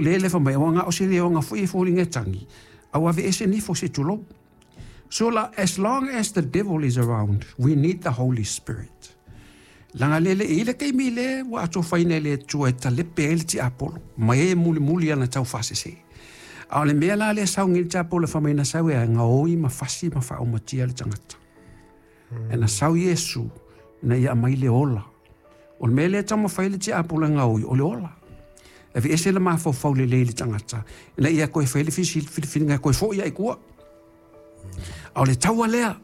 Le le fai mai o nga o se le o nga foi e foliga e tagi a ua aveese nifo se tulou. So la, as long as the devil is around, we need the Holy Spirit. Laga le le i le taimi le ua atofaina e le Atua e talepe ai le tiapolo, ma e mulimuli ana taufaasese. A o le mea la lea sau nei le tiapolo e fai mai na sau e gaoi ma fasi ma faaumatia le tagata. E na sau Iesu ina ia aumai le ola. O le mea lea e taumafai le tiapolo e gaoi, o le ola. E aveese le mafaufau lelei i le tagata, ina ia toe fai le filifiliga e toe foi ai i tua. A o le taua lea,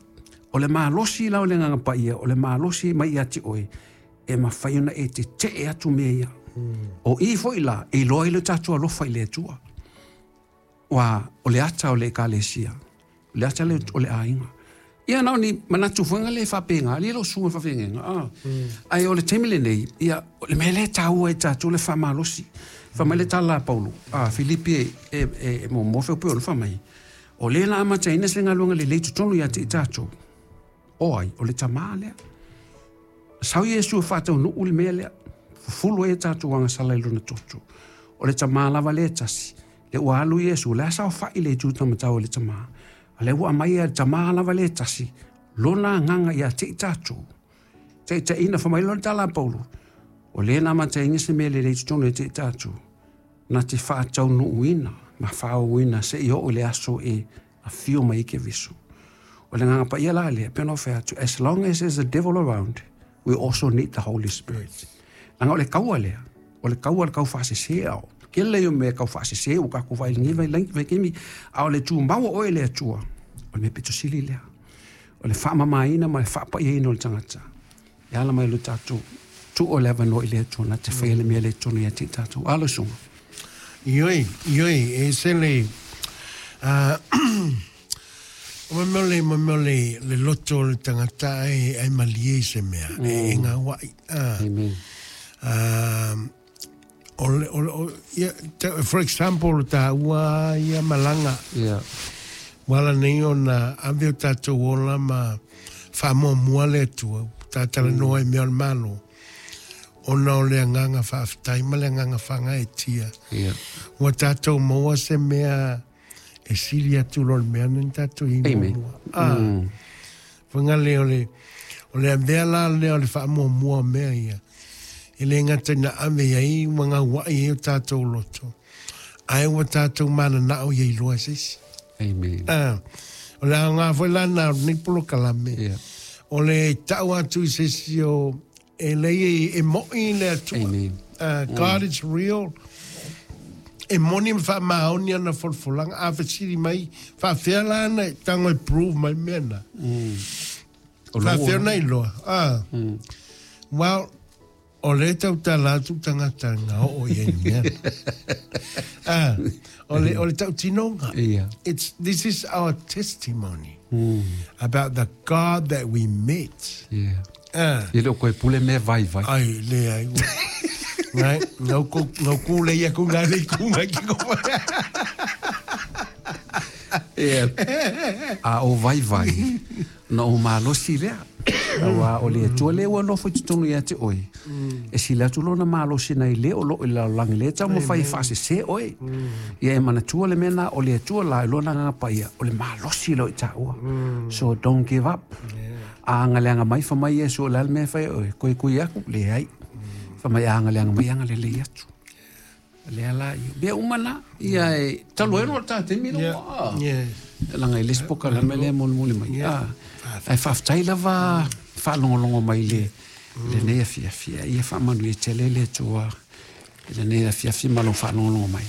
o le malosi la o le Agaga Paia, o le malosi mai ia te oe, e mafai ona e tetee atu mea ia. O i foi la, e iloa ai lo tatou alofa i le Atua. Ua o le ata o le Ekalesia, o le ata o le aiga. Ia na o ni manatu foi le faapena, le lo suga faafeagaiga. Ah. Ae o le taimi lenei, ia, o le mea lea e taua i tatou le faamalosi. Fai mai le tala a Paulo, a Filipi e muamua feopeo ona fai mai, o lea na amataina se galuega lelei totonu ia te i tatou. O ai, o le tamā lea. Sau Iesu e faataunuu le mea lea. Fufulu ai a tatou agasala i lona toto. O le tamā lava lea e tasi. Le ua alu Iesu, o le a saofai le itu taumatau e le tamā. A lea ua aumai e le tamā lava lea e tasi, lona agaga ia te i tatou. Taitaiina, fai mai loa le tala a Paulo, o lea na amataina se mea lelei totonu ia te i tatou, na te faataunuuina ma faaauauina seia oo i le aso e afio mai ai Keriso. O le Agaga Paia la lea, pei ona ou fai atu, as long as there's a devil around, we also need the Holy Spirit. Leaga o le kaua lea, o le kaua le kaufaasese ao. Kele ia o mea kaufaasese ua tatou vaai i lenei vaitaimi, a o le tumau o oe i le Atua, o le mea pito sili lea. O le faamamaina ma le faapaiaina o le tagata, e ala mai lo tatou tuu o le avanoa i le Atua na te faia le mea le tonu ia te i tatou. Alo susuga. Ioe, ioe, e ese le, o mea o le, mea o le, le loto o le tagata ae, ae malie i se mea, e gauai. Amen. O le, o le, o, ia, for example, taua ia malaga. Yeah. Ua ala nei ona ave o tatou ola ma faamuamua le Atua, ta talanoa i mea o le Malo, ona o le agaga faafetai ma le agaga faagaeetia. Yeah. Ua tatou maua se mea e sili atu lo le mea na tatou i muamua. Ah. Faiga lea o le, o le avea la lea o le faamuamua o mea ia. E le gata ina ave i ai ua gauai ai o tatou loto, ae ua tatou mananao ia iloa e se isi. Amen. Ah, o le aoga foi la na o lenei polokalame, Yeah. o le tau atu i se isi o e leai e mo'i le Atua. Amen. God is real. E moni ma faamaoni ana folafolaga. A fesili mai, faafefea la ona e tago e prove mai mea na. Faafefea ona iloa. Ah. Well, o lea e tautala atu tagata na oo i ai i mea na. Ah, o le, o le tautinoga. Ia. It's, this is our testimony about the God that we met. Yeah. Ah. E le o koe pule mea vaivai. Ai, leai. Ngai, ngau ku, ngau ku le ia ku ngai le ku ngai ki ko. Yeah. A o vaivai, na o malosi lea. Aua o le Atua lea ua nofo i totonu ia te oe. E sili atu lona malosi nai le o loo i le lalolagi lea e taumafai e faasese oe. Ia e manatua le mea na o le Atua la i lona Agaga Paia, o le malosi lea o i taua. So don't give up. A agaleaga mai, fai mai Iesu, o le a le mea e fai e oe? Koe kui aku? Leai. Fai mai a agaleaga mai, agalelei atu. Lea la, ia, mea uma na, ia e, talu ai loa le ta taimi Yeah, loa. yeah. Laga i le isi polokalame lea mulimuli mai. Yeah. Ah, ae faafetai lava faalogologo mai le lenei afiafi. Ia faamanuia tele le Atua i lenei afiafi ma lou faalogologo mai.